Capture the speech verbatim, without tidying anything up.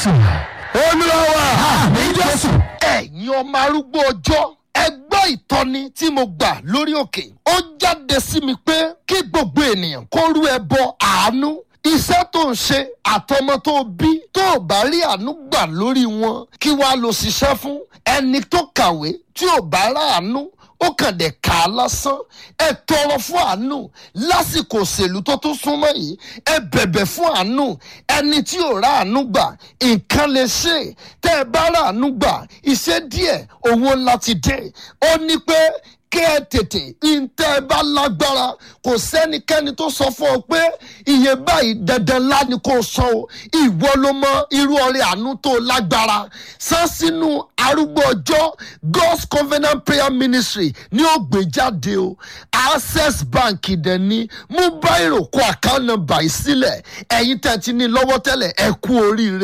Jésù. Olúwa wa. Àmín Jésù. Ẹ̀yin ọmọ arúgbó ọjọ́, ẹ gbọ́ ìtọ́ni tí mo gbà lórí òkè. Ó jáde sí mi pé kí gbogbo ènìyàn kó rú ẹbọ àánú. Iṣẹ́ tó ń ṣe àtọmọ tó bí, tó ò bá rí àánú gbà lórí wọn, kí wàá lọ ṣiṣẹ́ fún? Ẹni tó kàwé tí ò bá ráàánú, ó kàn dé kà á lásán. Ẹ tọrọ fún àánú lásìkò òṣèlú tó tún súnmọ́ yìí. Ẹ bẹ̀bẹ̀ fún àánú. Ẹni tí ò ráàánú gbà, nǹkan lè ṣe. Tẹ́ ẹ bá ráàánú gbà, iṣẹ́ díẹ̀, owó ńlá ti dé. Ó ní pé kẹ́ ẹ tètè ntẹ́ ẹ bá lágbára. Kò sẹ́nikẹ́ni tó sọ fún ọ pé iye báyìí dandan ńlá ni kò san o. Ìwọ ló mọ irú ọrẹ àánú tó lágbára san sínú arúgbó ọjọ́ God's Covenant Prayer Ministry ní ó gbé jáde o. Access Bank dẹ̀ ní. Mú báyìí kó account number yìí sílẹ̀. Ẹ̀yin tẹ̀ ti ní lọ́wọ́ tẹ́lẹ̀, ẹ kú oríire.